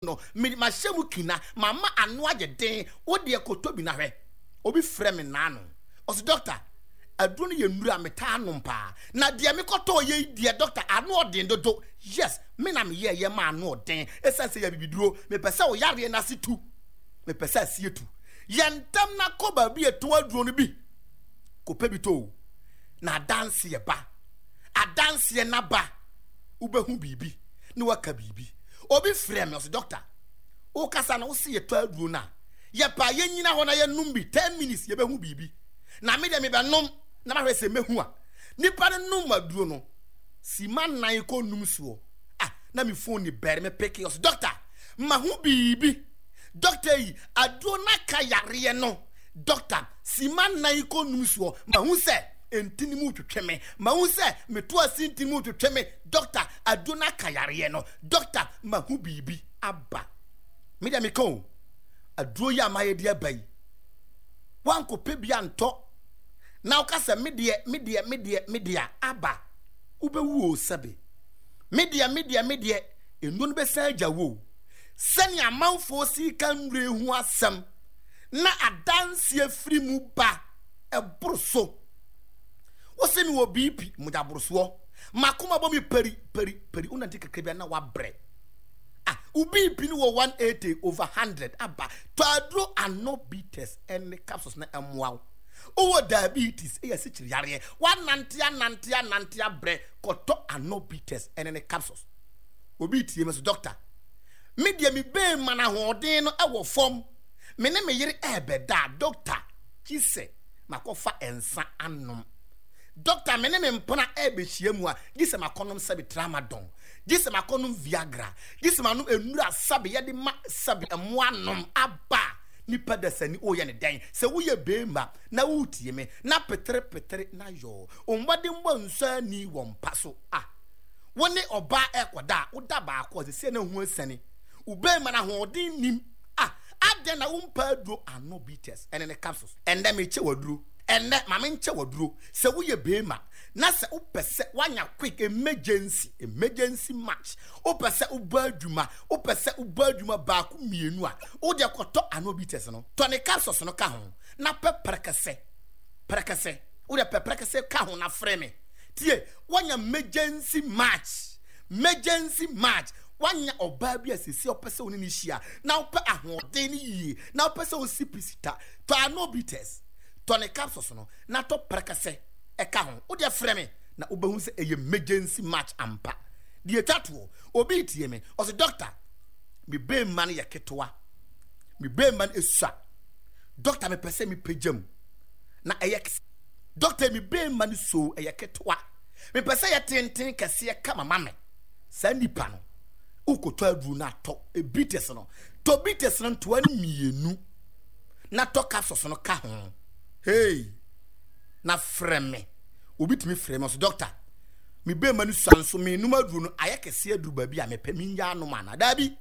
No, me mahyɛ mu kina, mama ano ayɛ den, wo deɛ kɔtɔ bi na hwɛ. Obi frɛ me naano, ɔse doctor, aduro no yɛ nnuro a metaa nom paa, na deɛ mekɔtɔɔ yɛ yi deɛ doctor, ano ɔden dodo. Yes, me na meyɛɛ yɛ ma ano ɔden, ɛsiane sɛ yɛ abibiduro, mepɛ sɛ wo yareɛ no ase tu, mepɛ sɛ aseɛ tu. Yɛ ntɛm na kɔ baabi a yɛtɔn aduro no bi, kɔpɛ bi tɔ o, na adanseɛ ba, adanseɛ no aba, wobɛhu biribi na waka biribi. Obi frɛ me, ɔse doctor, wokasa no wose yɛtɔ aduro no a, yɛpɛ a yɛnyina hɔ na yɛnom bi 10 minutes yɛbɛhu biribi. Na me deɛ mebɛnom na mahwɛ sɛ mɛhu a. Nipa no nom aduro no, sima nan kɔ num soɔ. Ah, na me phone ni bɛre me peke, ɔse doctor, mahu biribi. Doctor yi, aduro no aka yareɛ no. Doctor, sima nan kɔ num soɔ, mahu sɛ ntini mu twetwe me. Mahu sɛ meto ase ntini mu twetwe me. Doctor, aduro no aka yareɛ no. Doctor, mahu biribi aba. Me deɛ meka o, aduro yi a mayɛ de aba yi, woankɔpɛ bi antɔ na woka sɛ me deɛ, me deɛ, me deɛ, me deɛ a, aba, wobɛwu o sɛbe. Me deɛ, me deɛ, me deɛ, nnuro no bɛsan agya wo o. Sɛnea amanfoɔ si ka nnuro yi ho asɛm na adanseɛ firi mu ba, ɛboro so. Wose mewɔ BP, mogyaborosoɔ. M'akoma bɔ me pari pari pari. Wonante kakra bi a na wabrɛ. Ah, wo BP no wɔ 180 over 100 aba. Tɔ aduro ano bitters ɛne capsules na ɛmmoa wo. Wowɔ diabetes, ɛyɛ asikyire yareɛ. Woanante anante anante abrɛ, kɔtɔ ano bitters ɛne ne capsules. Obi tie me so, doctor, me deɛ me bɛɛma no ahoɔden no ɛwɔ fam. Me ne me yere ɛɛbɛda a, doctor, gye sɛ makɔfa nsa anom. Doctor, me ne me mpena ɛrebɛhyia mu a, gye sɛ makɔnom sɛbe tramadol, gye sɛ makɔnom Viagra, gye sɛ manom nnuru a sɛbe yɛde ma sɛbe mmoa nom aba a, nipa dasani woyɛ ne dɛn? Sɛ woyɛ beema na woretie me na petere petere na yɔɔ, wo mmɔdenbɔ nsɔ ani wɔ mpa so a, wo ne ɔbaa ɛrekɔda a, woda baako a, seesei na ho asiane. Wo beema no ahoɔden nnim a, adɛn na wompɛ aduro ano bitters ɛne ne capsules? Ɛnnɛ mekyɛ wo aduro. Ɛnnɛ ma menkyɛ wo aduro. Sɛ woyɛ beema na sɛ wopɛ sɛ woanya quick emergency, emergency match, wopɛ sɛ wobɔ adwuma, wopɛ sɛ wobɔ adwuma baako mmienu a, wo deɛ kɔtɔ ano bitters no. Tɔ ne capsules no ka ho na pɛ prɛkɛsɛ, prɛkɛsɛ. Wo deɛ pɛ prɛkɛsɛ ka ho na frɛ me. Tie, woanya emergency match, emergency match. Woanya ɔbaa bi a seesei ɔpɛ sɛ wo ne no hyia na wopɛ ahoɔden no yie na wopɛ sɛ wosi pi sita, tɔ ano bitters. Tɔ ne capsules no na tɔ prɛkɛsɛ ɛka ho. Wo deɛ frɛ me na wobɛhu sɛ ɛyɛ emergency match ampa. Deɛ ɛtwa toɔ, obi retie me, ɔse doctor, me bɛɛma no yɛ ketewa, me bɛɛma no ɛsua, doctor mepɛ sɛ mepagya mu na ɛyɛ kɛse, doctor me bɛɛma no so ɛyɛ ketewa, mepɛ sɛ ɛyɛ tenten kɛseɛ kama ma me. Saa nipa no, wokɔtɔ aduro no atɔ bitters no, tɔ bitters no ntoa no mmienu. na tɔ capsules no ka ho. Hey, na frɛ me. Obi tumi frɛ me ɔsɛ doctor, me bɛrima no sua nso menom aduro no ayɛ kɛseɛ aduru baabi a mepɛ mengya anom anaa? Daabi.